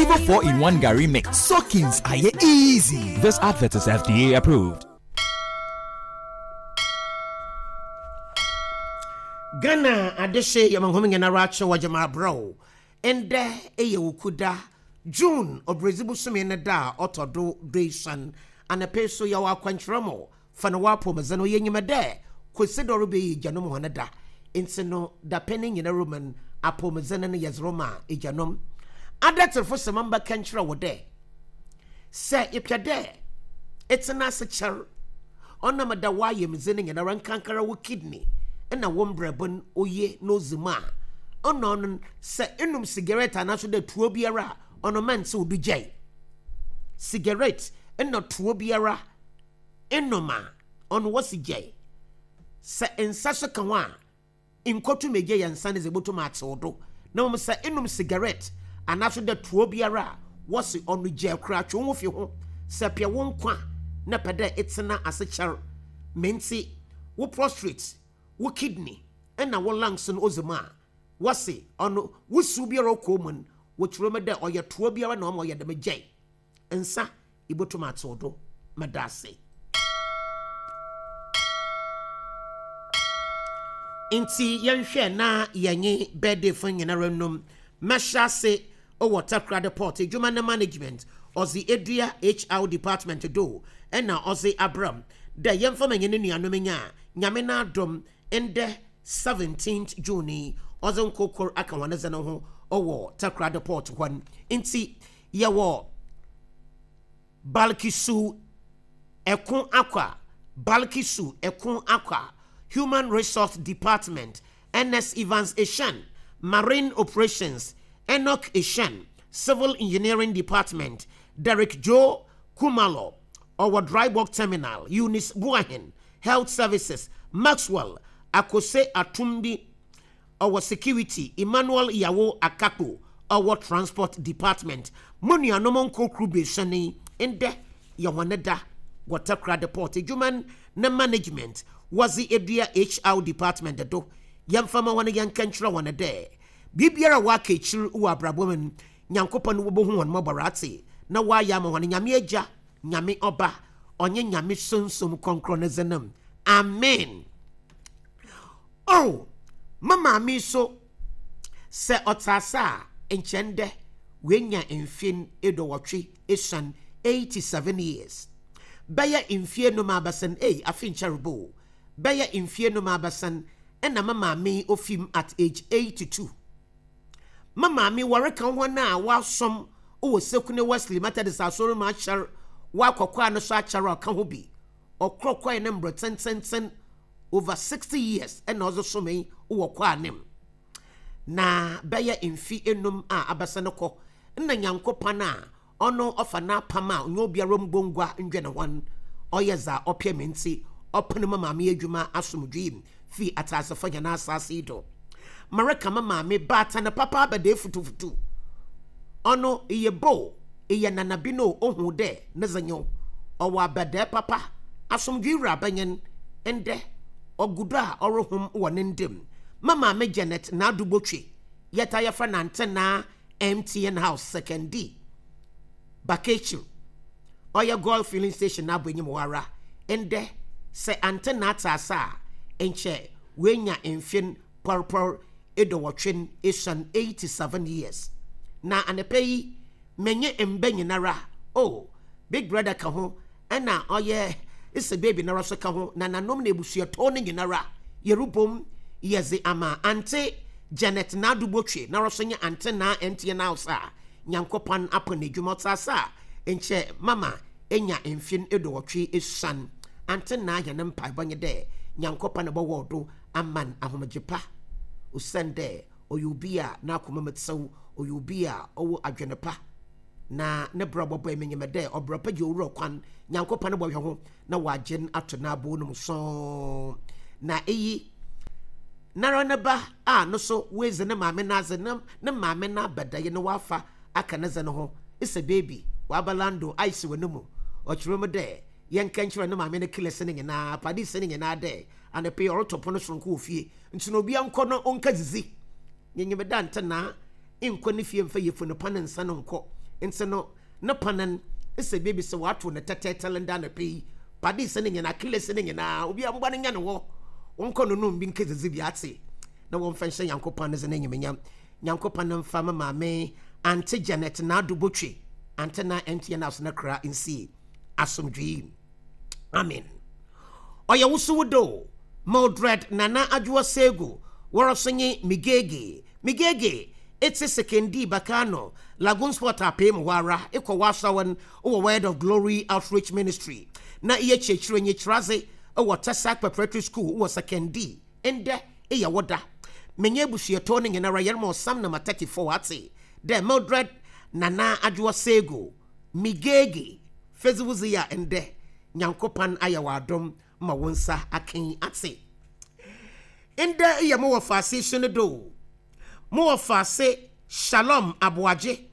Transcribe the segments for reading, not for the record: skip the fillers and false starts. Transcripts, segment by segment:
Kivo 4 in 1 Gary Mix. Soakings are easy. This advert is FDA approved. Ghana adehye yɛ ma hom nyinara akye wɔ gyama abrɛ wo. Ndɛ yɛ Wukuda, June Obiradzi bosome ne da a ɔtɔ do duesuon. Anapa yi so yɛwɔ akwankyerɛ mu fa no w'apɔwmudzen ho. Yenyim dɛ Kwesi dɛ ɔrebɛyɛ egyanom hɔn da, ntsi no dapɛn yi nyinara mu no apɔwmudzen no yɛdze rema egyanom. Adatserfo se mambɛka nkyerɛ wo dɛ sɛ epɛ dɛ etsena ase kyɛr ɔnam dɛ w'ayamdze no nyinara nkankara wo kidney na wo mbrɛbo no oye na odzi mu a, nna ɔno sɛ enom sigaret anaaso dɛ tuo biara a, ɔno mma nntsew do gyae. Sigaret na tuo biara enom a, ɔno wɔse gyae. Sɛ nsa so ka ho a, Nnkotum egye yɛ nsa no dze ebotum atsew do, na mbom sɛ enom sigaret anaaso dɛ toa biara a, wɔse ɔno gyaa koraa, twe woho fi ho. Sɛ epɛ wo nkwa na epɛ dɛ etsena ase kyɛr, me ntsi wo prostrate, wo kidney na wo lungs no odzi mu a, wɔse ɔno wusiw biara ɔkɔ mu no, wɔkyerɛ mu dɛ ɔyɛ toa biara na ɔma ɔyɛ dɛm gyae. Nsa ibotum atsew do. Meda ase. Ntsi yɛnhwɛ na yɛnye birthdayfo nyinara nnum. Mɛhyɛ ase wɔ Takoradi Port edwuma ne management ɔdze edua HR department do na ɔdze abra mu dɛ yɛmfa ma hɛn nuanom nya Nyame n'adom ndɛ seventeenth June yi ɔdze nkorkor aka hɔn dze no ho wɔ Takoradi Port hɔ. Ntsi yɛwɔ Balkisu Ɛko Akwa, Balkisu Ɛko Akwa, Human Resource Department, Ernest Evans Eshan, Marine Operations, Enoch Eshan, Civil Engineering Department, Derrick Joe Kumalo, ɔwɔ Dry Bulk Terminal, Eunice Boahen, Health Services, Maxwell Akose Atumbi, ɔwɔ Security, Emmanuel Yawo Akakpo, ɔwɔ Transport Department. Mo nuanom nkorkor beesuon yi, ndɛ yɛ hɔn da wɔ Takoradi Port edwuma ne management wɔdze edua HR Department do. Yɛmfa mma hɔn yɛnka nkyerɛ hɔn dɛ, biribiara a wɔaka ekyir wɔ abrabɔ mu no, Nyankopɔn wobohu hɔn mbɔbɔr atse na ɔayɛ ama hɔn. Nyame Egya, Nyame Ɔba, ɔnye Nyame Sunsum Krɔnkrɔn ne dzin mu, amen. Oh, me maame yi so, sɛ ɔtse ase a, nkyɛ ndɛ oenya mfe eduowɔtwe esuon, 87 years. Bɛyɛ mfe enum abasin, ei, afe nnkyɛr bo o, bɛyɛ mfe enum abasin nna me maame yi ofi mu at age 82. Me maame, wɔreka hɔn a wɔasom wɔ Sekune Wesley Methodist Asɔr mu akyɛr, wɔakɔkwaa no so akyɛr a ɔka ho bi. Ɔkrɔkrɔe ne mber tsentsenntsen over 60 years na ɔdze somee wɔ kwaa no mu. Na bɛyɛ mfe enum a abɛsen kɔ, nna Nyankopɔn a ɔno ɔfa n'apam a ɔnye obiara mmbɔ ngua nndwen ho no, ɔyɛ dza ɔpɛ me ntsi, ɔpen me maame edwuma asomdwee mu fii atseasefo hɛn asaase yi do. Mereka me maame baatan papa abɛda efutufutu. Ɔno, eyɛ ba o, eyɛ nana bi no o, ohu dɛ ne dze nye wo. Ɔwɔ abɛdaa papa, asomdwee wura banyin. Ndɛ, ɔgu do a ɔrohom wɔ ne nda mu. Me maame Janet Naadu Botwe, yɛtaa yɛfrɛ no Antenaa MTN House, Sekondi, Bakekyir. Ɔyɛ Goil Filling Station n'abɔenyim hɔ ara. Ndɛ, sɛ Antenaa tse ase a, nkyɛ oenya mfe pɔrpɔr eduowɔtwe esuon, 87 years. Na anapa yi, menye mba nyinara, oh, Big Brother ka ho, nna ɔyɛ Ese Baby noara so ka ho, nananom na ebusuatɔw no nyinara, yerobɔ mu yɛdze ama Aunty Janet Naadu Botwe noara so nye Aunty Naa MTN House a Nyankopɔn apon n'edwuma ɔtse ase a nkyɛ mama enya mfe eduowɔtwe esuon. Aunty Naa hɛn mpaabɔ nye dɛ Nyankopɔn bɔwɔw do ama no ahomgye pa osiandɛ ɔyɛ obi a n'akoma mu tsew, ɔyɛ obi a ɔwɔ adwen pa na ne bra ɔbɔbɔe. Minyim dɛ ɔbra pa gye owura kwan, Nyankopɔn bɔhwɛ ho na ɔagye no ato n'abow no mu sɔnn. Na iyi noara ne ba a no so oedzi ne maame n'adze na ne maame n'abadae no ɔafa aka ne dze no ho, Ese baby, ɔaba Lando ice wɔ no mu. Ɔkyerɛ mu dɛ yɛnka nkyerɛ ne maame ne killers no nyina, paddies no nyina dɛ anapa yi ɔroto pon soronko wɔ fie ntsi na obia nkɔ na ɔnkedzidzi. Nyenyem da ntsenaa nnkɔ ne fie mfa yafunu pa ne nsa no nnkɔ. Ntsi no, ne panan sɛ beebi sɛ wɔatow no tɛtɛɛtɛl ndɛ anapa yi, padis ne nyina, Achilles ne nyina, obiara mboa no nya no hɔ, wɔnkɔ no nom bi nkedzidzi bi atse, na wɔmfa nhyɛ Nyankopɔn ne dze n'enyimnyam. Nyankopɔn mfa me maame Aunty Janet Naado Botwe, Aunty na MTN House no kra nsie asomdwee mu. Amen. Ɔyɛ wo so wo do. Mildred Nana Adwoa Sego, woara so nye Migege. Migege, etse Sekondi Bakano, Lagoon Sport apee mu hɔ ara, ekɔ w'asawan wɔ Word of Glory Outreach Ministry, na eyɛ kyerɛkyerɛnyi kyerɛadze wɔ Tesac Preparatory School wɔ Sekondi. Ndɛ eyɛ wo da. Menye ebusuatɔ no nyinara yɛrema ɔsam number 34 atse dɛ Mildred Nana Adwoa Sego, Migege, fedze wo dzi a ndɛ Nyankopɔn ayɛ wo adom ma wo nsa akã yi atse. Ndɛ eyɛ mo wɔfaase su no do o. Mo wɔfaase Shalom Aboagye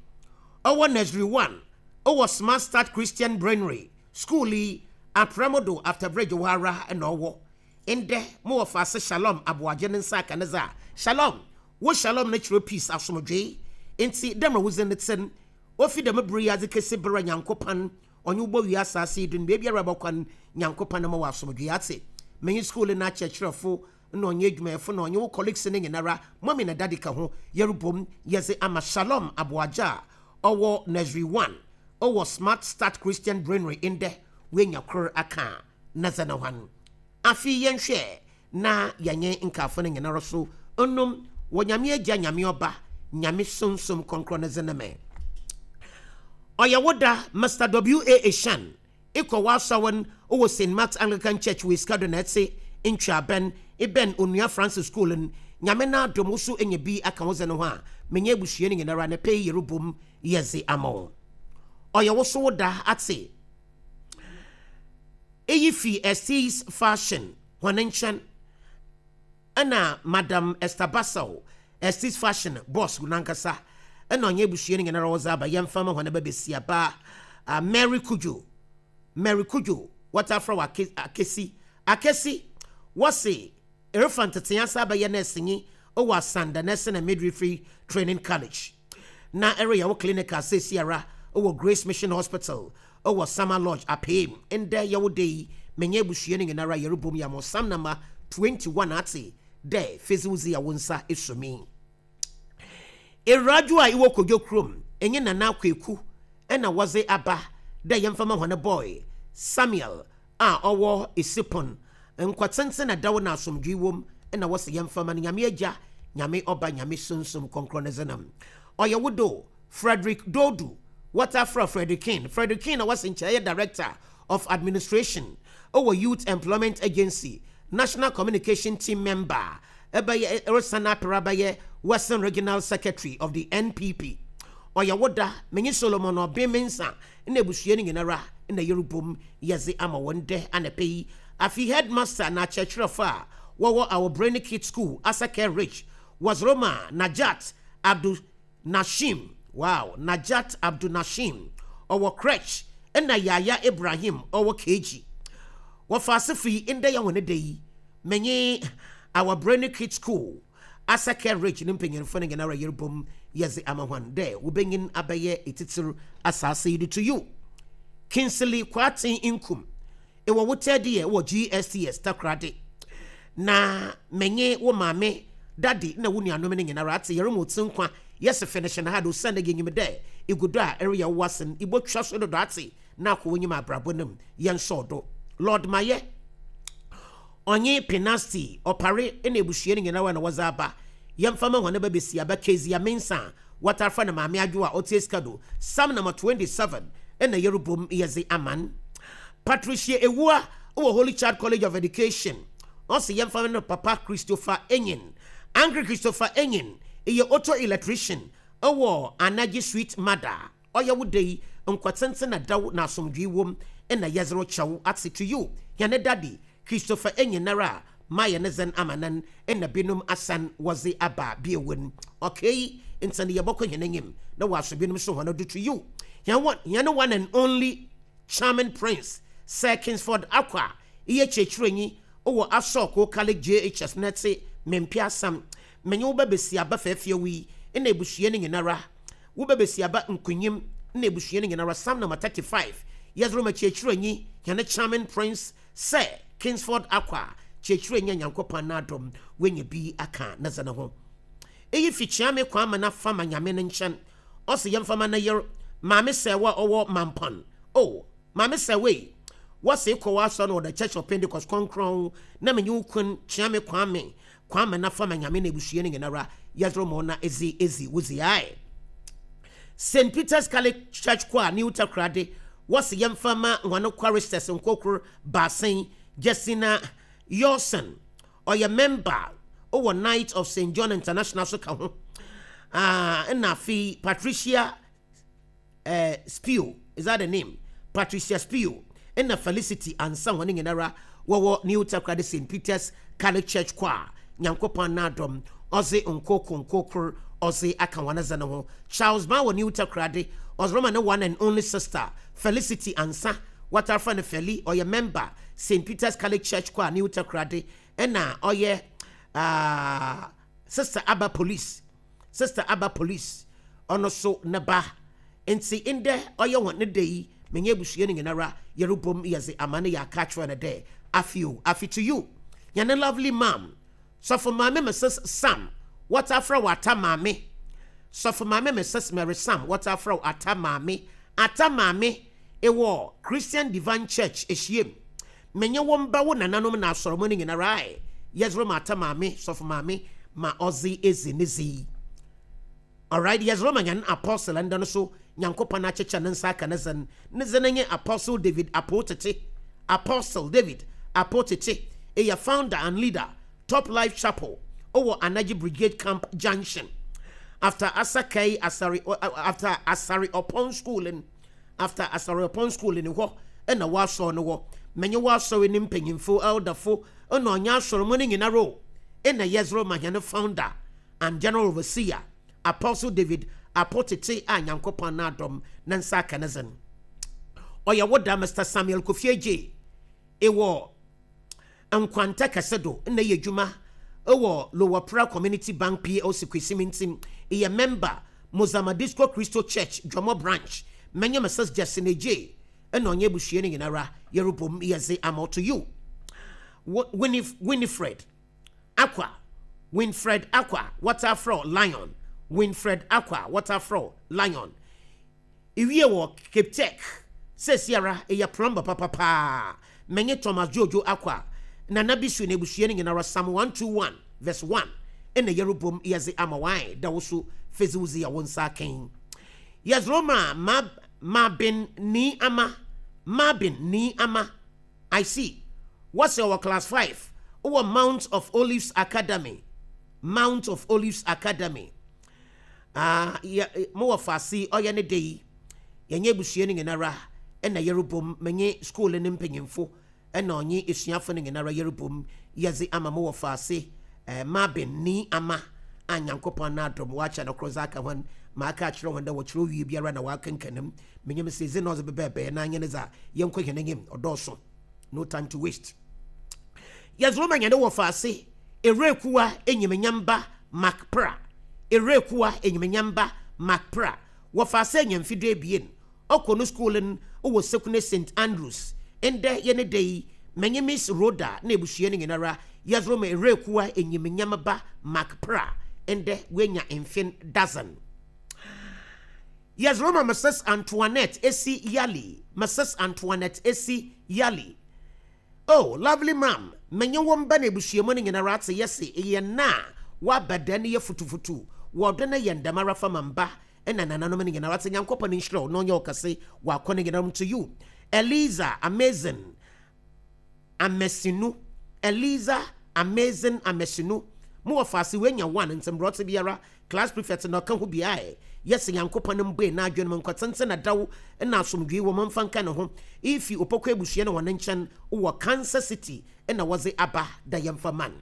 ɔwɔ Nursery One wɔ Smart Start Christian Brainary School yi Aprɛmo do after bridge hɔ ara na ɔwɔ. Ndɛ mo wɔfaase Shalom Aboagye ne nsa aka ne dze a, Shalom! Wo Shalom no kyerɛ peace, asomdwee. Ntsi dɛ mbrɛ wo dzin no tse no, Ofi dɛm ber yi adze kesi ber a Nyankopɔn ɔnye wo bowie asaase yi do no, beebiara ebɔkɔ no, Nyankopɔn mma wo asomdwee. Atse? Menye skuul no akyerɛkyerɛfo na ɔnye edwumayɛfo na ɔnye wo colleagues no nyinara, Mummy na Daddy ka ho, yɛrobɔ mu yɛdze ama Shalom Aboagye a ɔwɔ Nursery One wɔ Smart Start Christian Brainary ndɛ, oenya kor akã na dza na hɔn. Afei yɛnhwɛ na yɛnye nkaafo no nyinara so nnom wɔ Nyame Egya, Nyame Ɔba, Nyame Sunsum Krɔnkrɔn ne dzin mu. Ɔyɛ wo da, Mister W. A. Eshan, ekɔ w'asɔr no wɔ Saint Mark's Anglican Church wɔ Escadron etse Ntweaban, ebɛn Onua Francis School no. Nyame n'adom wo so enya bi aka wo dze no ho a, menye ebusua no nyinara ne pɛ yi yerobɔ mu yɛdze ama wo. Ɔyɛ wo so wo da, atse? Iyi fi Estes Fashion hɔn nkyɛn na Madam Esther Bassel, Estes Fashion boss nankasa na ɔnye ebusua no nyinara wɔdze aba yɛmfa mma hɔn ba basiaba Mary Cudjoe, Mary Cudjoe, wɔtaa frɛ wo Akesi, Akesi, wɔse Erefa ntsetsee ase abɛyɛ nɛɛsenyi wɔ Asanda Nursing and Midwifery Training College. Na ereyɛ wo clinical seseiara wɔ Grace Mission Hospital wɔ Summer Lodge, Apeem. Ndɛ yɛ wo da yi, menye ebusua no nyinara yɛrobɔ mu yɛ Psalm number 21 atse dɛ fedze wo dzi a wo nsa esuo me. Ewuradwo a ewɔ Kodwo kurom nye Nana Kweku na wɔdze aba dɛ yɛmfa ma hɔn boy Samuel a ɔwɔ Esipon. Nkwa tsentsen na dɛw na asomdwee wɔ mu na wɔse yɛmfa ma no. Nyame Agya, Nyame Ɔba, Nyame Sunsum Krɔnkrɔn ne dze no. Ɔyɛ wo do Frederick Dodu, wɔtaa frɛ Freddie King. Freddie King na wɔse nkyɛ ɔyɛ Director of Administration wɔ Youth Employment Agency, National Communication Team Member, ebɛyɛ eresan aper abɛyɛ Western Regional Secretary of the NPP. Ɔyɛ wo da, menye Solomon Obeng Mensah na ebusua no nyinara na yerobɔ mu yɛdze ama hɔn ndɛ anapa yi. Afei headmaster na akyerɛkyerɛfo a wɔwɔ Our Brainy Kids School, Asake Ridge, wɔdze rema Najat Abdul Nashim, wow, Najat Abdul Nashim, ɔwɔ Crèche, nna Yaya Ibrahim, ɔwɔ KG. Wɔfa asefo yi ndɛ yɛ hɔn da yi, menye Our Brainy Kids School, Asake Ridge ne mpanyimfo no nyinara yerobɔ mu yɛdze ama hɔn dɛ wobenyin abɛyɛ etsitsir asaase yi do to you. Kingsley Kwarteng Nkum, ewɔ wo third year wɔ GSTS Takoradi, na menye wo maame, daddy na wo nuanom no nyinara atse yɛrema wo tsir nkwa, yɛse finish no hard osiandɛ yenyim dɛ egu do a ereyɛ wo asen, ibotwa so dodo atse na akɔ w'enyim abrabɔ no mu, yɛnsɔw do. Lord Mayɛ. Ɔnye Penasti, Ɔpare na ebusua no nyinara na wɔdze aba. Yɛmfa mma hɔn ba basiaba Kezia Mensah a wɔtaa frɛ no Maame Adwoa a ɔtse Escado, Psalm number 27 na yɛrobɔ mu yɛdze ama no. Patricia Ewua wɔ Holy Child College of Education, ɔse yɛmfa mma no papa Christopher Enyin. Uncle Christopher Enyin yɛ auto electrician wɔ Anagye Sweet Mother. Ɔyɛ wo dɛ yi, nkwa tsentsen na dɛw na asomdwee wɔ mu na yɛdze rekyɛ wo atse to you, hɛn daddy, Christopher Enyenara a mayɛ ne dzen ama nan na binom asan wɔdze aba bio n'. Okay, ntsi no yɛbɔkɔ hɛn enyim na wɔaso binom so hɔn do to you, hɛn one, hɛn one and only charming prince, Sir Kingsford Akwa, eyɛ kyerɛkyerɛnyi wɔ Asɔɔkoo Catholic JHS na etse Mempe Asɛm. Menye wo ba basiaba fɛɛfɛw yi na ebusua no nyinara. Wo ba basiaba nkonyim. Na ebusua no nyinara, Psalm number 35, yɛdze rema Kyerɛkyerɛnyi, hɛn Charming Prince, Sir Kingsford Acquah, Kyerɛkyerɛnyi a Nyankopɔn n'adom oenya bi akã ne dze no ho. Iyi fi Kyeame Kwamena Fama Nyame ne nkyɛn. Ɔse yɛmfa ma ne yer, Maame Sɛɛwa a ɔwɔ Mampɔn. Oh, Maame Sɛɛwa ei, wɔse ekɔ w'asɔr no wɔ The Church of Pentecost Krɔnkrɔn na menye wo kun Kyeame Kwame Kwamena Fama Nyame na ebusua no nyinara yɛdze rema wo na edze edzi wo dzi ae. St. Peter's Catholic Church Choir, New Takoradi, wɔse yɛmfa ma hɔn choristers nkorkor baasa yi, Justina Yorson, ɔyɛ member wɔ Knight of St. John International so ka ho, ah, nna afei Patricia eh, Spio, is that the name? Patricia Spio, nna Felicity Ansah hɔn nyinara wɔwɔ New Takoradi St. Peter's Catholic Church Choir, Nyankopɔn n'adom, ɔdze nkorkor nkorkor ɔdze aka hɔn dze no ho. Charles Ban wɔ New Takoradi, ɔdze rema ne one and only sister, Felicity Ansah, wɔtaa frɛ no Feli, ɔyɛ member, St. Peter's Catholic Church Choir, New Takoradi, nna ɔyɛ ah, Sister Abba Police. Sister Aba Police, ɔno so ne ba. Ntsi ndɛ ɔyɛ hɔn da yi, menye ebusua no nyinara yɛrobɔ mu yɛdze ama no yɛaka akyerɛ no dɛ, Afe o, afe to you, hɛn lovely mum, Sɔfo Maame Mrs Sam, wɔtaa frɛ wo Ata Maame, Sɔfo Maame Mrs Mary Sam, wɔtaa frɛ wo Ata Maame, Ata Maame, ewɔ Christian Divine Church ehyiam. Menye wo mba, wo nananom na asɔrmu no nyinara ae, yɛdze rema Ata Maame, Sɔfo Maame, ma ɔdze edzi ne dze yi. Alright, yɛdze rema hɛn Apostle ndɛ no so, Nyankopɔn akyekyɛ ne nsa aka ne dzen. Ne dzin nye Apostle David Apow Tete. Apostle David Apow Tete eyɛ founder and leader, Top Life Chapel, ɔwɔ Anagye Brigade Camp Junction, after Asakai Asare, after Asare Opon School no. After Asɔrepɔn School no hɔ na w'asɔr no wɔ. Menye w'asɔr no mpanyimfo, elderfo, na ɔnye asɔr mu no nyinara o, nna yɛdze rema hɛn founder and general overseer, Apostle David Apo-Tete a Nyankopɔn n'adom ne nsa aka ne dzen. Ɔyɛ wo da, Mister Samuel Kofi Adjei, ewɔ Nkwanta kɛse do nna eyɛ edwuma wɔ Lower Pra Community Bank PLC Kwesimintsim, eyɛ member Mozama Disco Christo Church Dwɔmɔ Branch, Menye Mrs Justin Adjei na ɔnye ebusua no nyinara yɛrobɔ mu yɛdze ama to you. Winifred Akwa Winfred Akwa wɔtaa frɛ wo Lion Winfred Akwa wɔtaa frɛ wo Lion. Iwie wɔ Cape Tech. Seseiara eyɛ plumber papa paa. Menye Thomas Jojo Acquah, Nana Bisu na ebusua no nyinara Psalm 121 verse 1 nna yɛrobɔ mu yɛdze ama wo ae da wo so fedzi wo dzi a wo nsa akã yi. Yɛdze rema Ma Mabin Nii Ama Mabin Nii Ama I see. Wɔse ɔwɔ class 5 wɔ Mount of Olives Academy Mount of Olives Academy. Ah, yɛ, mo wɔfaase yi, ɔyɛ ne dɛ yi, yɛnye ebusua no nyinara na yɛrobɔ mu, menye skuul no mpanyimfo na ɔnye esuafo no nyinara yɛrobɔ mu yɛdze ama mo wɔfaase, eh, Marvin Nii Ama a Nyankopɔn n'adom ɔakyɛ no kor dze aka hɔn, maaka akyerɛ hɔn dɛ wɔkyerɛw wie biara na wɔakenkan mu. Minyim sɛ dze na ɔdze bɛbɛɛbɛɛ na nye ne dza yɛnkɔ hɛn enyim, ɔdɔɔ sõ. No time to waste. Yɛdze rema hɛn wɔfaase, Ewurakuwa Enyimnyam Ba Mark Pra, Ewurakuwa Enyimnyam Ba Mark Pra, wɔfaa sɛ nya mfe 12, ɔkɔ no skuul n wɔ Sekune Saint Andrews. Ndɛ yɛ ne da yi, menye Miss Rhoda na ebusua no nyinara yɛdze rema Ewurakuwa Enyimnyam Ba Mark Pra, ndɛ oenya mfe dozen. Yɛdze rema Mrs Antoinette Esi Yali, Mrs Antoinette Esi Yali. Oh lovely mum, menye wo mba na ebusua mu no nyinara atse yɛse eyɛ nna a wɔaba dɛn no yɛ futufutu wɔ ɔdɔ na yɛn dɛmara fa ma mba na nananom no nyinara atse Nyankopɔn nhyira wo na ɔnyɛ wo kɛse wɔ akɔ no nyinara mu to you Eliza amazing Amesinu Eliza amazing Amesinu mo wɔ faase wenya one ntsi mbrɛ ɔtse biara Class prefect na ɔka ho bi ae yɛse Nyankopɔn mbue n'adwen mu nkɔtsentsen na daw na asomdwee wɔ mu mfa nka ne ho ifi Opoku ebusua no hɔn nkyɛn wɔ Kansas City na wɔdze aba dɛ yɛmfa man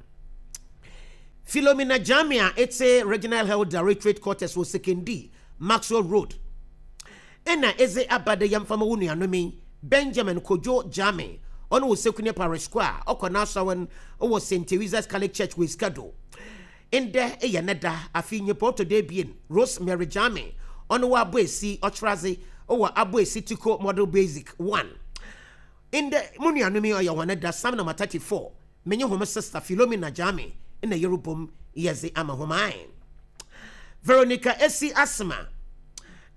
Philomena Gyame a etse Regional Health Directorate Quarters wɔ Sekondi, Maxwell Road na edze aba dɛ yɛmfa ma wo nuanom yi, Benjamin Kojo Gyame, ɔno wɔ Sekune Parish Square, ɔkɔ n'asɔr wɔ St. Teresa's Catholic Church wɔ Esikado. Ndɛ yɛ ne da, afei nyimpa ɔtɔ do ebien, Rosemary Gyame, ɔno ɔabɔ esi, ɔkyerɛ adze. wɔ Aboe Citico Model Basic 1. Ndɛ, mo nuanom yi ɔyɛ hɔn da, Psalm number 34, menye hom sister Philomena Gyame na yerobɔ mu yɛdze ama hom ae. Veronica Esi Asma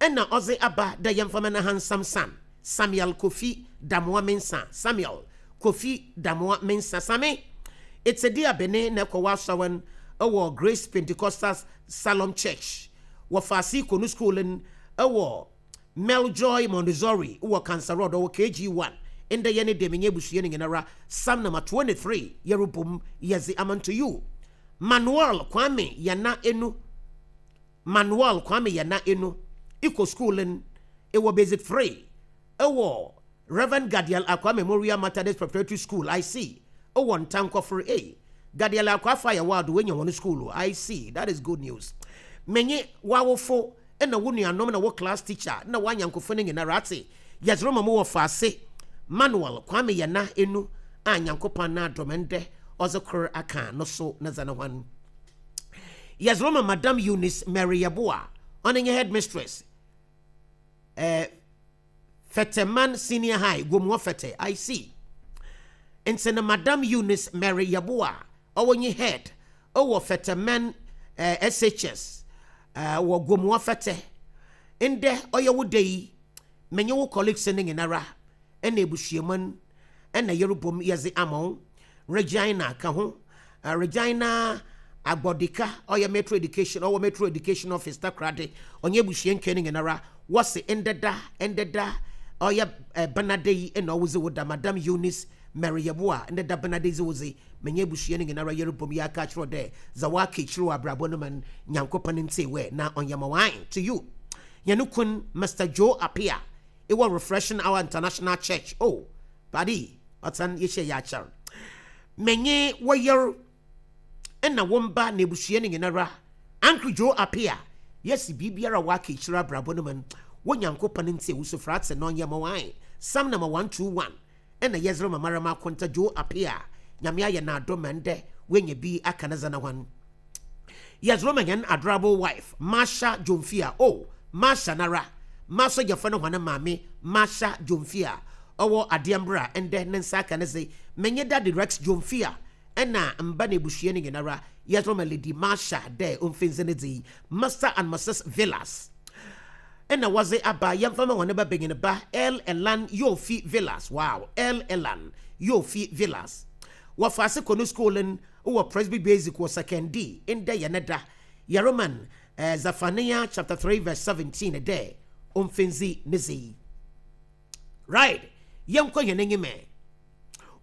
na ɔdze aba dɛ yɛmfa ma n'ahansam son, Samuel Kofi Damoah Mensah, Samuel Kofi Damoah Mensah. Same, etse de abene na ekɔ w'asɔr wɔ Grace Pentecostal Salom Church wɔ Faase Konu School no wɔ Meljoy Montessori wɔ Cancer Road, ɔwɔ KG1. Ndɛ yɛ ne dɛ menye ebusua no nyinara, Psalm number 23 yɛrobɔ mu yɛdze ama unto you. Manuel Kwame Yana Enu Manuel Kwame Yana Enu, ekɔ school no, ewɔ Basic 3 wɔ Rev. Gadiel Acquah Memorial Methodist Preparatory School, I see, wɔ Ntankɔfor ei, Gadiel Acquah Fire Ward woenya hɔn skuul o, I see, that is good news. Menye w'awofo na wo nuanom na wo class teacher na w'anyankofo no nyinara atse yɛdze rema mo wɔfaase Manuel Kwame Yana Enu a Nyankopɔn n'adom ndɛ ɔdze kor aka no so ne dze no hɔn. Yɛdze rema Madam Eunice Mary Yeboah, ɔno nye headmistress, eh, Fɛtɛman Senior High, Gomoa Fɛtɛ, I see. Ntsi no Madam Eunice Mary Yeboah a ɔwɔ nye Head wɔ Fɛtɛman eh, SHS eh, wɔ Gomoa Fɛtɛ. Ndɛ ɔyɛ wo da yi, menye wo colleagues no nyinara na ebusuamu no na yɛrobɔ mu yɛdze ama wo. Regina ka ho. Regina Agbodika, ɔyɛ Metro Education, ɔwɔ Metro Education Office Takoradi, ɔnye ebusua nkaa no nyinara wɔse ndɛ da, ndɛ da ɔyɛ Benada yi na ɔwodze wo da, Madam Eunice Mary Yeboah, ndɛ da Benada yi dze wo dze, menye ebusua no nyinara yɛrobɔ mu yɛaka akyerɛ wo dɛ dza wɔaka ekyir wɔ abrabɔ no mu no, Nyankopɔn ntsie wɛ na ɔnyɛ ma wo. Ae, to you, hɛn kun Mister Joe Appiah, ewɔ Refreshing Hour International Church, oh, Padi, ɔtsan yehyia yɛ akyɛr. Menye wo yer na wo mba na ebusua no nyinara, Uncle Joe Appiah, yɛse biribiara a wɔaka ekyir abrabɔ no mu no, wo Nyankopɔn ntsie wo sufrɛ atse na ɔnyɛ ma wo ae. Psalm number 121 na yɛdze rema mara m'akonta Joe Appiah, Nyame ayɛ no adom ma ndɛ oenya bi aka ne dze no ho. Yɛdze rema hɛn adorable wife, Marsha Dwomfia, oh, Marsha noara, m'asogyafo no hɔn maame, Marsha Dwomfia, ɔwɔ Adeɛmbra ndɛ ne nsa aka ne dze, menye Daddy Rex Dwomfia na mba na ebusua no nyinara, yɛdze rema Lady Marsha dɛ omfi ndze ne dze yi, Mister and Mrs Villas na wɔdze aba, yɛmfa ma hɔn ba banyin ba, Earl Elan Yofi Villas, wow, Earl Elan Yofi Villas. Wɔfa ase kɔ no skuul no wɔ Presby Basic wɔ Sekondi ndɛ yɛ ne da. Yɛreman Zephaniah chapter 3 verse 17 dɛ omfindzi ne dze yi. Right, yɛnkɔ hɛn enyim ɛ.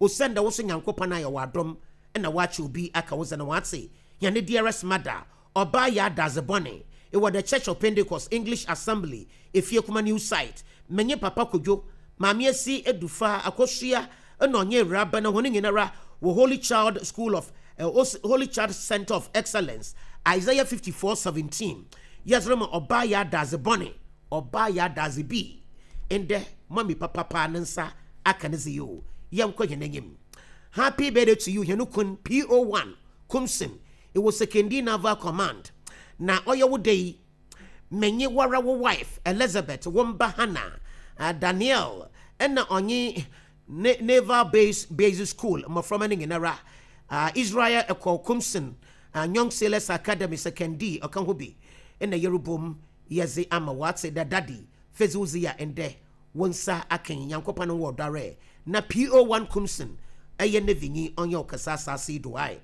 Osiandɛ wo so Nyankopɔn ayɛ wo adom na ɔakyɛ obi aka wo dze no, ɔatse hɛn dearest mother, ɔbaa yɛ adadze bɔne, ewɔ The Church of Pentecost English Assembly, Efiekuma New Site, menye Papa Kojo, Maame Esi Edufa, Akosua na ɔnye Ewuraba na hɔn nyinara wɔ Holy Child School of Holy Child Centre of Excellence, Isaiah 54:17, yɛdze rema ɔbaa yɛ adadze bɔne, ɔbaa yɛ adadze bi. Ndɛ, mummy papapaa ne nsa aka ne dze yi o, yɛnkɔ hɛn enyim. Happy birthday to you, hɛn kun PO1 Kumsin, ewɔ Sekondi Naval Command, na ɔyɛ wo da yi, menye woara wo wife Elizabeth, wo mba Hannah, Danielle, na ɔnye ne Naval Base Basic School mboframba no nyinara, Israel Ekow Kumsin, Young Sailors Academy Sekondi ɔka ho bi, na yerobɔ mu yɛdze ama wo atse dɛ Daddy fedze wo dzi a ndɛ wo nsa aka yi, Nyankopɔn wɔ ɔdɔ ara na PO1 Kumsin yɛ Navy nyi ɔnnyɛ wo kɛse asaase yi do ae.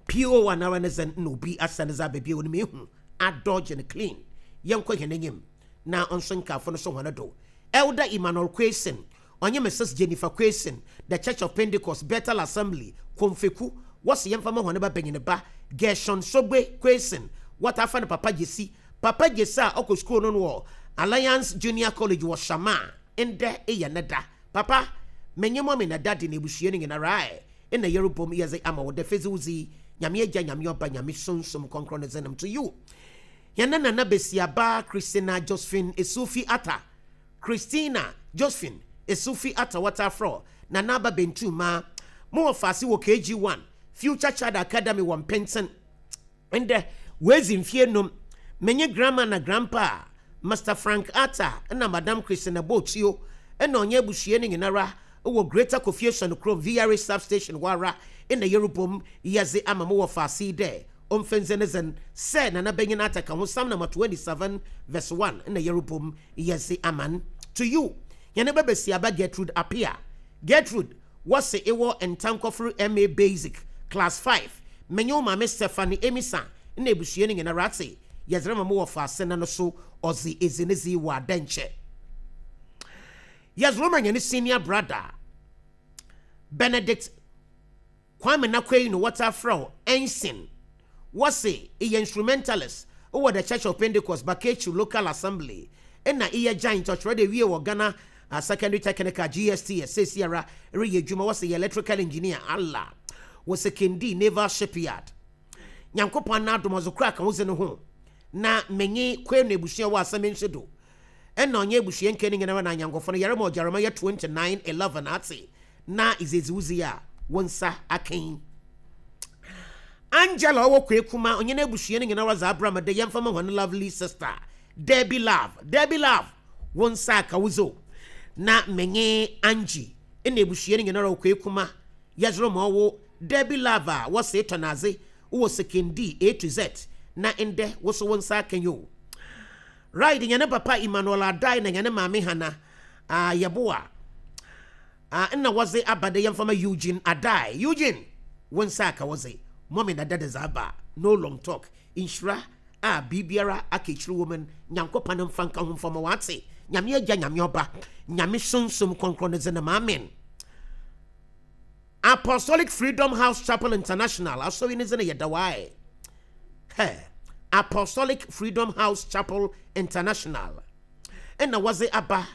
PO1 ara ne dzen na obi asan dze aba bio no mehu adodge no clean. Yɛnkɔ hɛn enyim na ɔnso nkaafo no so hɔn do. Elder Emmanuel Quayson, ɔnye Mrs Jennifer Quayson, The Church of Pentecost, Bethel Assembly, Komfeku, wɔse yɛmfa ma hɔn ba banyin ba, Gershon Sogbe Quayson, wɔtaa frɛ no Papa Gyesi. Papa Gyesi a ɔkɔ skuul no wɔ Alliance Junior College wɔ Shama, ndɛ eyɛ ne da. Papa, menye Mummy na Daddy na ebusua no nyinara ɛ. Nna yerobɔ mu yɛdze ama wo dɛ fedze wo dzi Nyame Egya, Nyame Ɔba, Nyame Sunsum Krɔnkrɔn ne dzin mu to you. Hɛn nana basiaba Christina Josephine Esufi Atta, Christina Josephine Esufi Atta wɔtaa frɛ wo Nana Aba Bentumah. Mo wɔfaase wɔ KG1, Future Child Academy wɔ Mpentsen. Ndɛ, woedzi mfe enum. Menye Grandma na Grandpa Mister Frank Arthur na Madam Christina Botsio na ɔnye ebusua no nyinara wɔ Greater Kofiesuan kurom VRA Substation hɔ ara na yerobɔ mu yɛdze ama mo wɔfaase yi dɛ omfa ndzi ne dzen sɛ Nana Banyin Arthur ka ho Psalm number 27 verse 1 na yerobɔ mu yɛdze ama n'. To you, hɛn babasiaba Gertrude Appiah. Gertrude, wɔse ewɔ Ntankɔfor MA Basic, Class 5, menye wo maame Stephanie Amissah na ebusua no nyinara atse yɛdze rema mo wɔfaase na no so ɔdze edzi ne dze wɔ adɛnkyɛ. Yɛdze rema hɛn senior brother Benedict Kwame Nakwei no wɔtaa frɛ wo Ensign. Wɔse eyɛ instrumentalist wɔ The Church of Pentecost Bakechu Local Assembly nna eyɛ giant ɔkyerɛ dɛ ewie wɔ Ghana Secondary Technical, GSTS, seseiara ereyɛ edwuma wɔse eyɛ electrical engineer Allah wɔ Sekondi Naval Shipyard. Nyankopɔn n'adom ɔdze kor aka wo dze no ho na menye Kwenu ebusua wɔ asɛm nsi do. Nna ɔnye ebusua nkaa no nyinara na anyɛnkofo no yɛrema ɔgyarama yɛ 29:11 atse na edze edzi wo dzi a wo nsa akã yi. Angela ɔwɔ Kwekuma ɔnye n'ebusua no nyinara dze abra me dɛ yɛmfa ma hɔn lovely sister Debbie Love. Debbie Love, wo nsa aka wo dze o. Na menye Angie na ebusua no nyinara wɔ Kwekuma yɛdze rema ɔwo Debbie Love a wɔse tɔn adze wɔ Sekondi A to Z na ndɛ wo so wo nsa akã yi o. Ride hɛn papa Emmanuel Adai na hɛn maame Hannah Yeboah nna wɔdze aba dɛ yɛmfa ma Eugene Adai. Eugene, wo nsa aka wo dze. Mummy na daddy dze aba. No long talk. Nhyira a biribiara aka ekyir wɔ mu no, Nyankopɔn mfa nka ho mfa ma wo. Atse? Nyame Agya, Nyame Ɔba, Nyame Sunsum Krɔnkrɔn ne dze no ma. Amen. Apostolic Freedom House Chapel International asɔr yi ne dze no yɛ dawae. Hɛ! Apostolic Freedom House Chapel International nna wɔdze aba,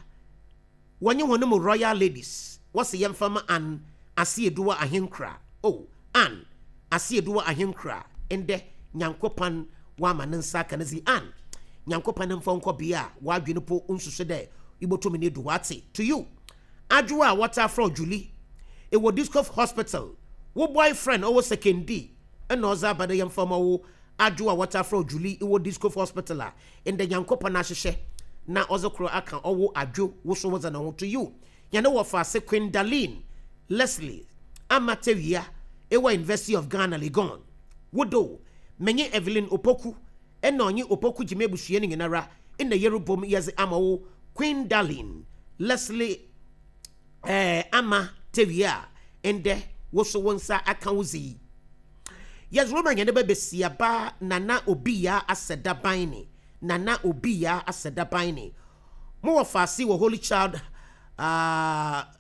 wɔnye hɔn mu Royal Ladies, wɔse yɛmfa ma Ann Asieduwa Ahenkura. Oh, Ann Asieduwa Ahenkura, ndɛ Nyankopɔn ɔama ne nsa aka ne dze. Ann, Nyankopɔn mfa wo nkɔ bea a w'adwen po nnsusu dɛ ibotum no edu hɔ. Atse? To you. Adwoa a wɔtaa frɛ wo Julie, ewɔ Discof Hospital, wo boyfriend ɔwɔ Sekondi nna ɔdze aba dɛ yɛmfa mma wo Adwoa a wɔtaa frɛ wo Julie, ewɔ Discof Hospital a ndɛ Nyankopɔn ahyehyɛ na ɔdze kor akã ɔwo Adwo wo so wodze no ho to you Hɛn wɔfaase Queen Darlene Leslie Ama Tewia ewɔ University of Ghana Legon wo do Menye Evelyn Opoku nna ɔnye Opoku Gyimah ebusua no nyinara nna yerobɔ mu yɛdze ama wo Queen Darlene Leslie eh, Ama Tewia a ndɛ wo so wo nsa akã wo dze yi. Yɛdze rema hɛn ba basiaba Nana Obiyaa Asɛda Baine, Nana Obiyaa Asɛda Baine. Mo wɔfaase wɔ Holy Child ah,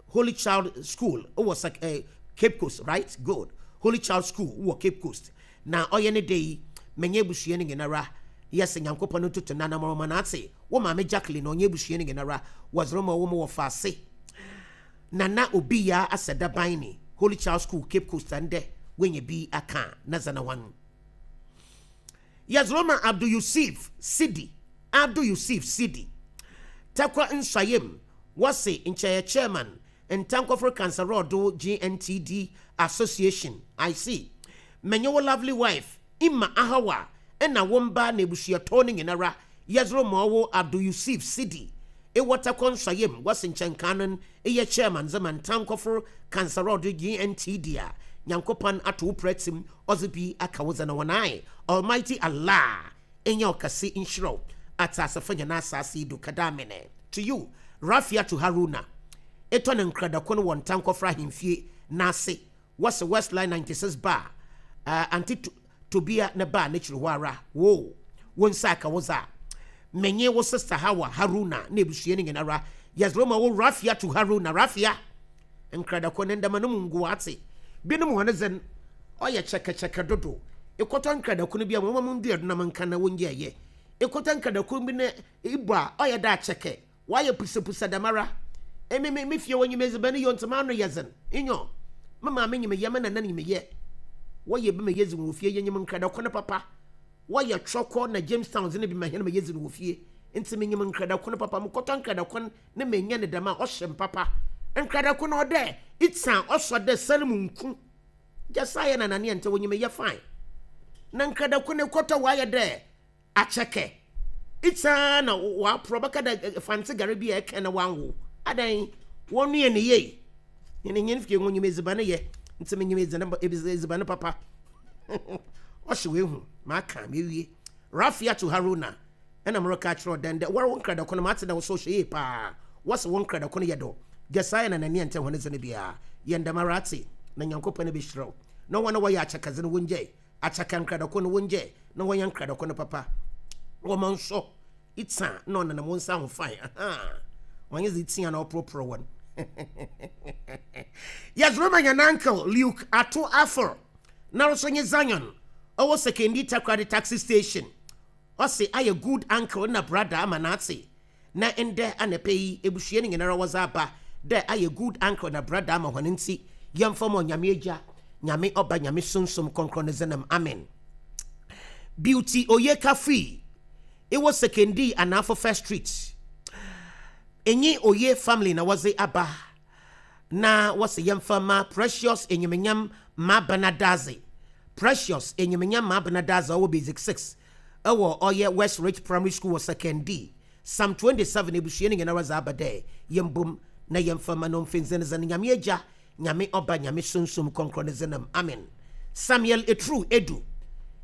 Holy Child School wɔ Sek eh, Cape Coast, right? Good. Holy Child School wɔ Cape Coast. Na ɔyɛ ne dɛ yi, menye ebusua no nyinara yɛse Nyankopɔn ntoto n'anamɔn ma n'atse. Wo maame Jacqueline ɔnye ebusua no nyinara wɔdze rema wo mo wɔfaase Nana Obiyaa Asɛda Baine, Holy Child School, Cape Coast a ndɛ woenya bi akã na dza na hɔn. Yɛdze rema Abdul Yusif Sidi, Abdul Yusif Sidi, Tarkwa Nsuaem, wɔse nkyɛ yɛ Chairman, Ntankɔfor Kansarɔɔdo GNTD Association, I see. Menye wo lovely wife, Emma Ahawa, na wo mba na ebusuatɔw no nyinara, yɛdze rema ɔwo Abdul Yusif Sidi, ewɔ Tarkwa Nsuaem, wɔse nkyɛ nkaa no eyɛ Chairman dze ma Ntankɔfor Kansarɔɔdo GNTD a, Nyankopɔn ato wo prɛtse ɔdze bi aka wo dze no ho ae. Almighty Allah nyɛ ɔkɛse nhyira wo atseasefo hɛn asaase yi do kɛdɛ amene. To you, Rafiatu Haruna, etɔ ne nkradako no wɔ Ntankɔfra ahemfie n'ase wɔse Westline 96 bar, Auntie Tobia ne bar n'ekyir hɔ ara. Woo, wo nsa aka wo dze a. Menye wo sister Hawa Haruna na ebusua no nyinara yɛdze rema wo Rafiatu Haruna. Rafia! Nkradako ne ndɛma no mu ngu atse. Binom hɔn dze no, ɔyɛ kyɛkɛkyɛkɛ dodow. Ekɔtɔ nkradako no bi a, wɔma mo ndua do na menka na wongyaa yɛ. Ekɔtɔ nkradako bi na ibɔ a, ɔyɛ dɛ akyɛkɛ, ɔayɛ pusapusa dɛmara. Emi me me fie wonyim edziban yɛ ntsi m'ano yɛ dzen. Nyew, me maame nyim yɛ, me nana nyim yɛ. Wɔyɛ bi ma yedzi wɔ fie, yenyim nkradako no papa. Wɔyɛ Twɔkɔ na Jamestown dze no bi ma hɛn ma yedzi no wɔ fie. Ntsi minyim nkradako no papa. Mokɔtɔ nkradako no na menya no dɛm a, ɔhyɛ me papa. Nkradako no ɔdɛ itse a ɔsɔ dɛ sar mu nku. Gyasa yɛ na Anania ntsi wonyim yɛ fine. Na nkradako no ekɔtɔ ɔayɛ dɛ akyɛkɛ. Itsaa na wɔaporɔ bɛka dɛ fantse gare bi a ɛkɛn na wɔanwo. Adan wɔnoa ne yie. Hɛn hɛn fie ho nyim edziban yɛ ntsi menyim edziban papa. Ɔhyew ehu, maka mewie. Rafiatu Haruna ɛna mereka akyerɛ wo dɛn dɛ woara wo nkradako no matse dɛ wo so ɔhyɛ yie paa. Wɔse wo nkradako no yɛ dɔ. Jesiah na Nania nntse hɔn dze no biara. Yɛ ndɛm ara atse na Nyankopɔn behyira wo. Na hɔn a wɔyɛ akyakadze no wongyae akyaka nkradako no wongyae na wɔnyɛ nkradako no papa. Wɔma nsɔ itsa na ɔnenam wo nsa ho fine ahaa ɔnye dze itsia na ɔporɔporɔ wɔn. Yɛdze rema hɛn uncle Luke Ato Affor noara so nye Zion ɔwɔ Sekondi Takoradi taxi station. Ɔse ayɛ good uncle na brother ama n'atse na ndɛ anapa yi ebusua no nyinara wɔdze aba dɛ ayɛ good uncle na brother ama hɔn ntsi yɛmfa ma Onyame Egya, Nyame Ɔba, Nyame Sunsum Krɔnkrɔn ne dzinam, amen. Beauty Oyeka Fui ewɔ Sekondi Anaafo First Street enye Oye family na wɔdze aba na wɔse yɛmfa ma Precious Enyimnyam Mabena Dadzie, Precious Enyimnyam Mabena Dadzie ɔwɔ Basic 6 wɔ ɔyɛ West Ridge Primary School wɔ Sekondi. Psalm 27 ebusua no nyinara dze aba dɛ yɛmbom na yɛmfa ma no mfendzenndzen Nyame Egya, Nyame Ɔba, Nyame Sunsum Krɔnkrɔn ne dzinam, amen. Samuel Etru Edu,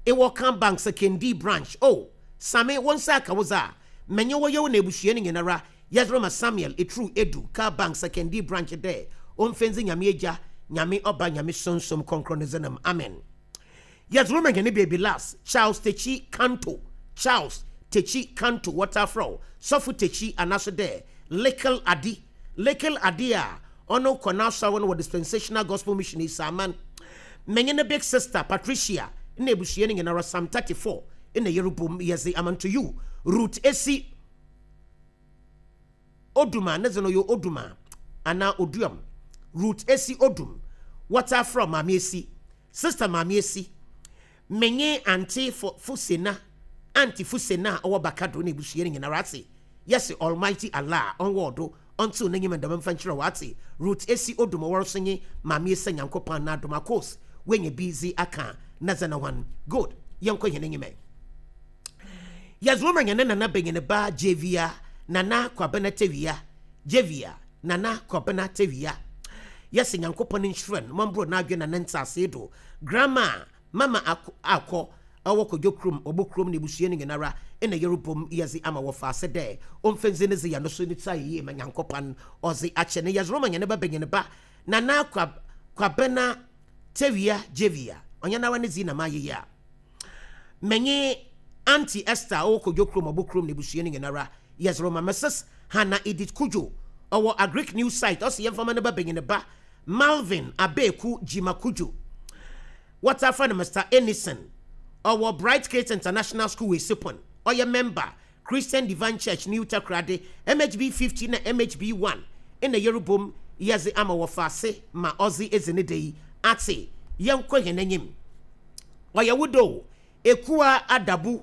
ewɔ Kan Bank Sekondi Branch, oh, Same, wo nsa aka wo dze a, menye wo yew na ebusua no nyinara yɛdze rema Samuel Etru Edu, Car Bank Sekondi Branch dɛ omfendze Nyame Egya, Nyame Ɔba, Nyame Sunsum Krɔnkrɔn ne dzinam, amen. Yɛdze rema hɛn baby lass, Charles Techi Kanto, Charles Techi Kanto, wɔtaa frɛ wo Sɔfo Techi anaaso dɛ Likkle Addi, Likkle Addi a ɔno kɔ n'asɔr no wɔ Dispensational Gospel Mission Esaaman. Menye ne big sister Patricia na ebusua no nyinara, Psalm 34 na yerobɔ mu yɛdze ama nto you, Ruth Esi Odum a ne dze no ɔyɛ Odum a anaa Oduam, Ruth Esi Odum, wɔtaa frɛ wo Maame Esi, Sister Maame Esi, menye Auntie Fusena, Auntie Fusena a ɔwɔ Bakado na ebusua no nyinara atse, yɛse Almighty Allah ɔnwɔ do ɔntsew n'enyim ndɛm mfa nkyerɛ wo atse, Ruth Esi Odum ɔwɔr so nye Maame Esa Nyankopɔn n'adom akos woenya bi dze akã na dza na hɔn, good, yɛnkɔ hɛn enyim ɛ. Yɛdze wo ma hɛn nana banyin ba Jevia Nana Kwabena Tewia, Jevia Nana Kwabena Tewia. Yɛse Nyankopɔn nhyira no ma ɔmbor n'adwen na ne ntseasee do. Grandma Mama Akɔ ɔwɔ Kodwo kurom, Obo kurom na ebusua no nyinara na yerobɔ mu yɛdze ama wɔfaase dɛ ɔmfa ndzi ne dze yɛ no so ne tsir ayɛ yie ma Nyankopɔn ɔdze akyɛ no. Yɛdze roma hɛn ba banyin ba Nana Kwabena Tewia, Jevia, ɔnnyɛ noara ne dzin na mayɛ yi a. Menye Auntie Esther a ɔwɔ Kodwo kurom, Ɔbo kurom na ebusua no nyinara yɛdze rema Mrs. Hannah Edith Cudjoe ɔwɔ Agric News Site ɔse yɛmfa ma ne ba banyin ba Malvin Abeeku Gyima Cudjoe wɔtaa frɛ no Mister Enison ɔwɔ Bright Kids International School Esipon ɔyɛ member Christian Divine Church New Takoradi MHB 50 na MHB 1 na yerobom yɛdze ama wɔfaase ma ɔdze edzi ne da yi atse yɛnkɔ hɛn enyim. Ɔyɛ wo dɛ o, Ekua Adabu,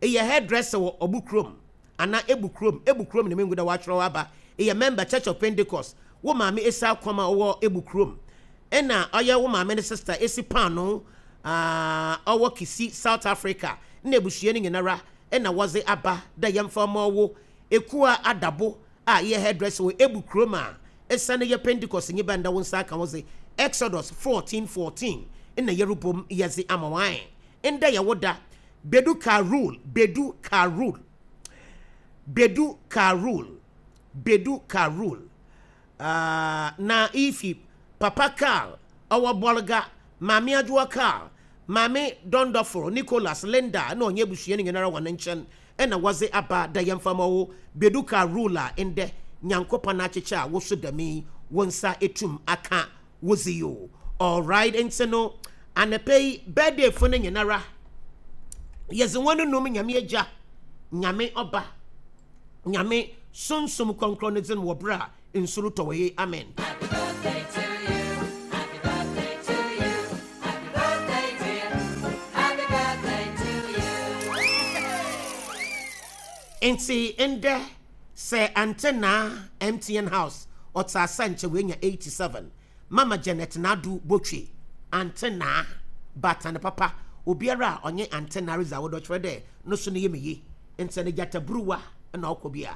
eyɛ hairdresser wɔ Ɔbo kurom anaa Ebu kurom, Ebu kurom na mengu dɛ wɔakyerɛw aba, eyɛ member Church of Pentecost, wo maame Esi Akwam a ɔwɔ Ebu kurom, nna ɔyɛ wo maame ne sister Esi Paanoo a ɔwɔ Kisi, South Africa, nna ebusua no nyinara na wɔdze aba dɛ yɛmfa mma ɔwo, Ekua Adabo a eyɛ hairdresser wɔ Ebu kurom a esian eyɛ Pentecostnyi ba ndɛ wo nsa aka wo dze, Exodus 14:14 nna yerobɔ mu yɛdze ama wo ae. Ndɛ yɛ wo da. Bedu Karul, Bedu Karul, Bedu Karul, Bedu Karul. Ah, na iyi fi Papa Karl ɔwɔ Bolga, Maame Adwoa Karl, Maame Dɔndɔfor, Nicholas, Linda na ɔnye ebusua no nyinara hɔn nkyɛn na wɔdze aba dɛ yɛmfa ma wo Bedu Karl rule a ndɛ Nyankopɔn akyekyɛ a wo so dɛm yi wo nsa etum akã wo dze yi o. Alright, ntsi no anapa yi birthday fo no nyinara yɛdze hɔn num Nyame Egya, Nyame Ɔba, Nyame Sunsum Krɔnkrɔn ne dzin wɔ ber a nsu rotɔ wɔ yi. Amen. Happy birthday to you. Happy birthday to you. Happy birthday dear. Happy birthday to you. Ntsi ndɛ sɛ Ante Naa MTN House ɔtse ase a nkyɛ oenya 87. Mama Janet Nadu Botwe, Ante Naa, baatan papa, obiara a ɔnye Ante Naa ridzi awodɔ kyerɛ dɛ no so ne yamu ye. Nsɛ no gyataburuwa na ɔkɔ bi a.